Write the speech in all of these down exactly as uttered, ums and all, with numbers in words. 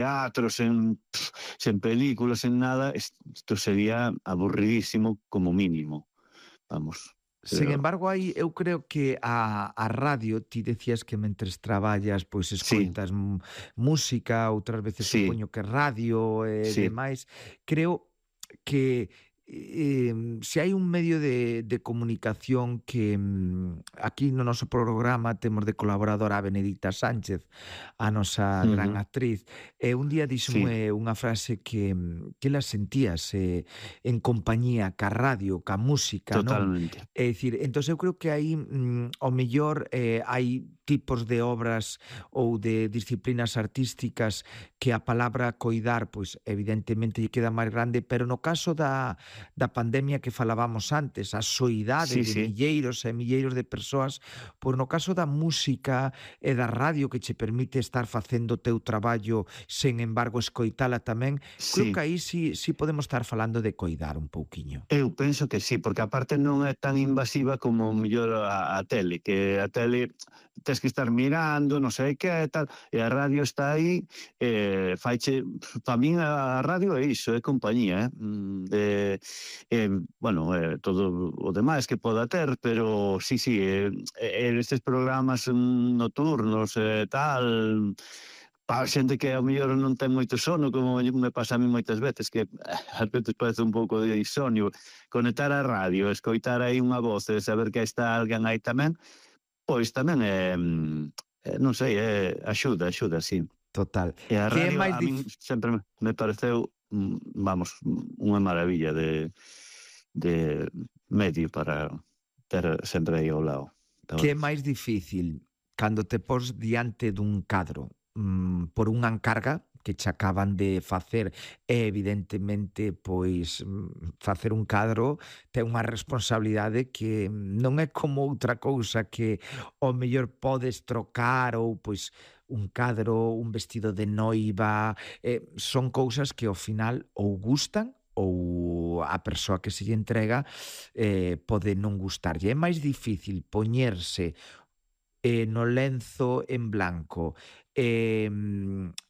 teatro, sen, pff, sen películas, sen nada, isto sería aburridísimo como mínimo, vamos, Sen pero embargo, aí eu creo que a a radio, ti decías que mentres traballas, pois sí, escoitas m música, outras veces sí, supoño que radio e sí, demais. Creo que, eh, se hai un medio de de comunicación que, mm, aquí no noso programa temos de colaboradora a Benedicta Sánchez, a nosa gran ujú, actriz, e un día sí, díxome unha frase que, mm, que ela sentíase en compañía ca radio, ca música, non? totalmente. É dicir, entón eu creo que aí, mm, ao mellor, eh, hai tipos de obras ou de disciplinas artísticas que a palabra coidar, pois evidentemente lle queda máis grande, pero no caso da da pandemia que falábamos antes, a soidade Sí, de sí. milleiros e milleiros de persoas, pois no caso da música e da radio que che permite estar facendo o teu traballo, sen embargo escoitala tamén, creo que Sí, aí sí sí podemos estar falando de coidar un pouquiño. eu penso que sí, porque aparte non é tan invasiva como mellor a, a tele, que a tele tes que estar mirando, non sei que e tal, e a radio está aí, eh, faiche, pa min a radio é iso, é compañía, eh? Mm, eh, eh, bueno, eh, todo o demais que poda ter, pero sí, sí, eh, eh, estes programas mm, nocturnos e eh, tal, pa xente que ao mellor non ten moito sono, como me pasa a mí moitas veces, que ás veces parece un pouco de insomnio, conectar a radio, escoitar aí unha voz e saber que está alguén aí tamén, pois tamén é, mm, eh, non sei, é, axuda, axuda, sí. Total. E a Que é radio máis a min dif sempre me me pareceu, mm, vamos, unha maravilla de de medio para ter sempre aí ao lado, la que é verdade. máis difícil cando te pos diante dun cadro, mm, por unha encarga que che acaban de facer e evidentemente, pois, mm, facer un cadro ten unha responsabilidade que non é como outra cousa que ao mellor podes trocar ou, pois, un cadro, un vestido de noiva, eh, son cousas que ao final ou gustan ou a persoa que se lle entrega eh, pode non gustarlle. É máis difícil poñerse eh, no lenzo en blanco eh,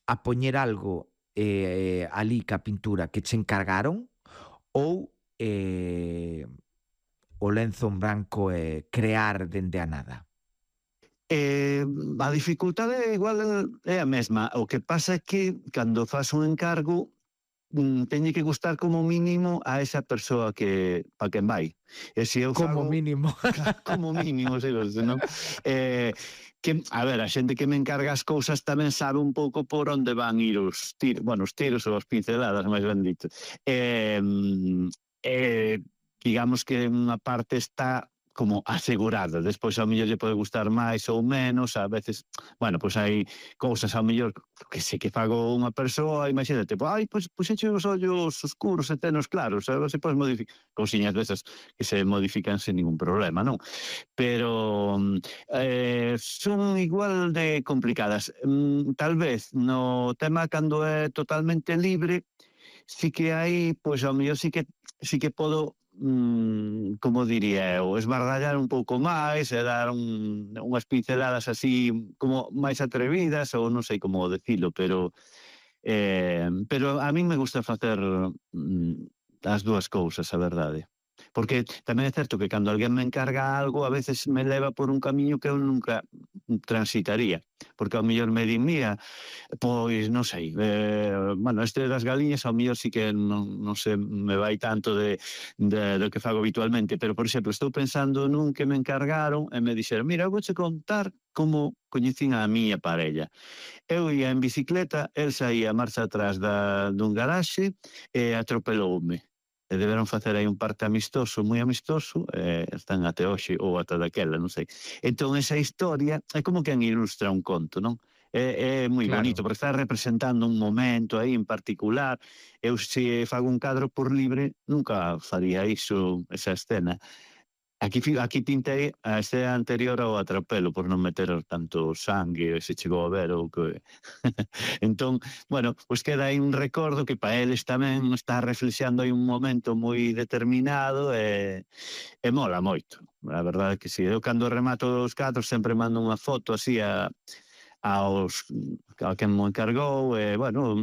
a poñer algo eh, ali ca pintura que che encargaron ou eh, o lenzo en blanco e crear dende a nada. Eh, a dificultade igual é a mesma, o que pasa é que cando fas un encargo mm, teñe que gustar como mínimo a esa persoa que pa quen vai. E se eu Como fago mínimo. claro, como mínimo, sei, senón, eh, que, a ver, a xente que me encarga as cousas tamén sabe un pouco por onde van ir os tiros, bueno, os tiros ou as pinceladas, máis ben dito. Eh, eh, digamos que unha parte está como asegurada, despois ao mellor lle pode gustar máis ou menos, a veces, bueno, pois hai cousas ao mellor que sei que fago unha persoa, imagínate, pois, ai, pois puxeche os ollos oscuros e tenos claros, a ver se podes modificar, cousiñas desas que se modifican sen ningún problema, non? Pero eh, son igual de complicadas. Mm, tal vez no tema cando é totalmente libre, sí que hai, pois ao mellor sí que sí que podo, mm, como diría eu, esbardallar un pouco máis e dar un, unhas pinceladas así como máis atrevidas, ou non sei como decilo, pero eh, pero a min me gusta facer mm, as dúas cousas, a verdade. Porque tamén é certo que cando alguén me encarga algo, a veces me leva por un camiño que eu nunca transitaría. Porque ao mellor me di, mira, pois non sei, eh, bueno, este das galiñas ao mellor sí que non, non se me vai tanto de, de, do que fago habitualmente, pero, por exemplo, estou pensando nun que me encargaron e me dixeron, mira, eu vouche contar como coñecín a miña parella. Eu ia en bicicleta, el saía a marcha atrás da, dun garaxe e atropeloume. E deberon facer aí un parte amistoso, moi amistoso, e están até hoxe, ou ata daquela, non sei. Entón, esa historia é como quen ilustra un conto, non? É, é moi bonito, Claro. porque está representando un momento aí en particular. Eu, se fago un cadro por libre, nunca faría iso, esa escena. Aquí, fi- aquí pintei a escena anterior ao atropelo por non meter tanto sangue, se chegou a ver ou que... entón, bueno, pois queda aí un recordo que para eles tamén está reflexando aí un momento moi determinado e, e mola moito. A verdade é que si, eu cando remato os cadros sempre mando unha foto así a, aos a quen mo encargou, e, bueno,